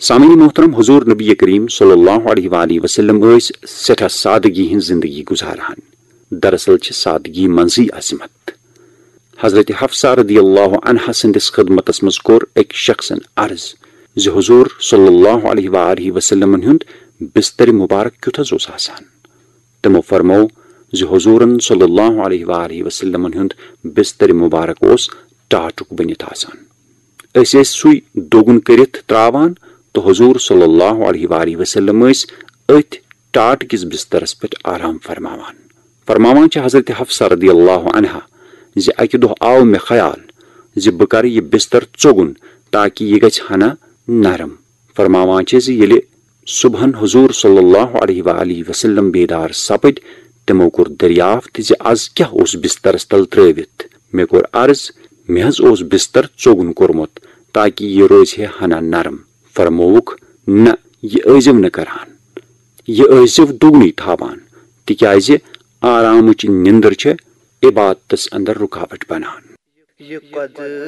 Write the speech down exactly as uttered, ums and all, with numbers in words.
سامعین محترم، حضور نبی کریم صلی اللہ علیہ وآلہ وسلم ٲسۍ سٮ۪ٹھاہ سادگی ہٕنٛز زندگی گزاران۔ دراصل چھِ سادگی منٛزٕے عظمت۔ حضرت حفصہ رضی اللہ عنہا سٕنٛدِس خدمتس منٛز کوٚر أکۍ شخصن عرض زِ حضور صلی اللہ علیہ وآلہ وسلمن ہُنٛد بستر مبارک کیُتھ حظ اوس آسان؟ تِمو فرموو زِ حضورن صلی اللہ علیہ وآلہ وسلمن ہُنٛد بستر مبارک اوس ٹاٹُک بٔنِتھ آسان۔ أسۍ ٲسۍ سُے دوٚگُن کٔرِتھ تراوان تہٕ حضور صلی اللہ علیہ وآلہ وسلم ٲسۍ أتھۍ ٹاٹ کِس بسترس پٮ۪ٹھ آرام فرماوان۔ فرماوان چھِ حضرت حفصہ رضی اللہ عنہا زِ اکہِ دۄہ آو مےٚ خیال زِ بہٕ کرٕ یہِ بستر ژوٚگُن تاکہِ یہِ گژھِ ہنا نرم۔ فرماوان چھِ زِ ییٚلہِ صبحن حضور صلی اللہ علیہ وآلہ وسلم بیدار سپٕدۍ، تِمو کوٚر دریافت زِ از کیاہ اوس بسترس تل ترٲوِتھ۔ مےٚ کوٚر عرض، مےٚ حظ اوس بستر ژوٚگُن کوٚرمُت تاکہِ یہِ روزِ ہے ہنا نرم۔ فرمووُکھ، نہ، یہِ ٲسۍزیو نہٕ کران، یہِ ٲسۍزیو دوٚگنُے تھاوان، تِکیازِ آرامٕچ نِندٕر چھےٚ عبادتس اندر رُکاوٹ بنان۔